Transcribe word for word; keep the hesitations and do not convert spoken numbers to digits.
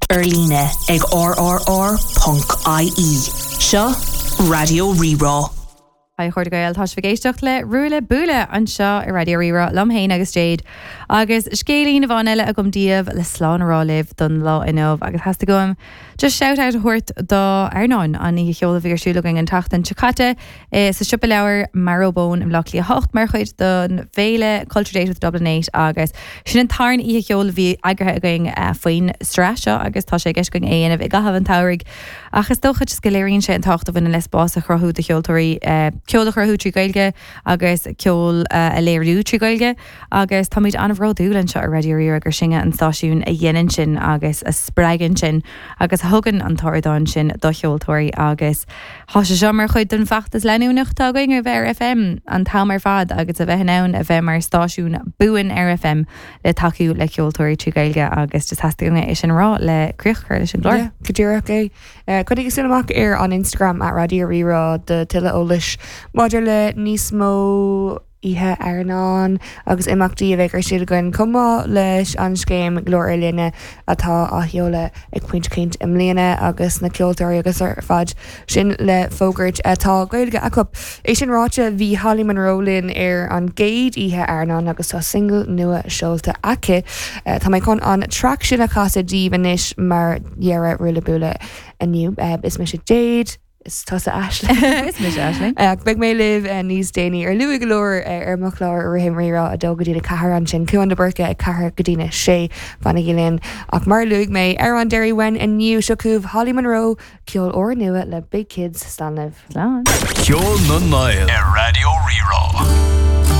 Ar líne ag rrr.ie. Seo Raidió Rí-Rá. Hi chairde Gael tá sibh ag éisteacht le Ruaille Buaille anseo ar Raidió Rí-Rá liom féin agus Jade. Agus scéilín amháin eile agam daoibh le slán a rá libh don lá inniu agus theastaigh uaim just shout out a thabhairt do Airneán an oíche cheoil a bhí ar siúl againn an tseachtain seo caite eh, sa siopa leabhar Marrowbone i mBleá Cliath hocht mar chuid don bhféile Culture Date with Dublin Eight agus sin an tarna oíche cheoil a bhí eagraithe againn eh, faoin sraith seo agus tá sé i gceist againn é a dhéanamh i gcaitheamh an tsamhraidh. Ach is dócha go léiríonn sé an tábhacht a bhaineann le spás a chruthú do cheoltóirí eh, ceol a chruthú trí Ghaeilge agus ceol uh, a léiriú trí Ghaeilge agus táimid an-bhródúil anseo ar Raidió Rí-Rá gur sinne an stáisiún a dhéanann sin agus a spreagann sin agus a thugann an t-ardán sin do cheoltóirí agus Tá sé seo mar chuid den fheachtas leanúnach atá againn a bheith ar FM an t-am ar fad agus a bheith in ann a bheith mar stáisiún buan ar FM le tacú le ceoltóirí trí Ghaeilge agus just theastaigh uaim é sin rá le críoch a chur leis an gclár. Yeah, go díreach é. Uh, Coinnigí súil amach ar an Instagram at Raidió Rí-Rá do tuilleadh eolais maidir le níos mó oíche Airneán agus imeachtaí a bheidh ar siúl againn chomh maith leis an scéim Glór ar Líne atá á sheoladh ag Pointe Cainte i mbliana agus na ceoltóirí agus ar fad sin le fógairt atá Gaeilge acu. É sin ráite bhí Holly Monroe linn ar an gcéad oíche Airneán agus tá single nua seolta aici. Uh, Tá mé chun an track sin a chasadh daoibh anois mar dheireadh Ruaille Buaille inniu. Uh, is mise Jade, is tusa Aisling. Is mise Aisling. Uh, Beidh mé libh uh, níos déanaí ar luath go leor uh, ar mo chlár Rithim Rí-Rá a dó go dtí a ceathair ansin Cuan de Burca ag ceathair go dtí a sé fanaigí linn ach mar luaigh mé ar an Derry Wen inniu seo chugaibh Holly Monroe ceol úrnua le Big Kids Slán libh. Slán. Ceol na nGael Ar Raidió Rí-Rá.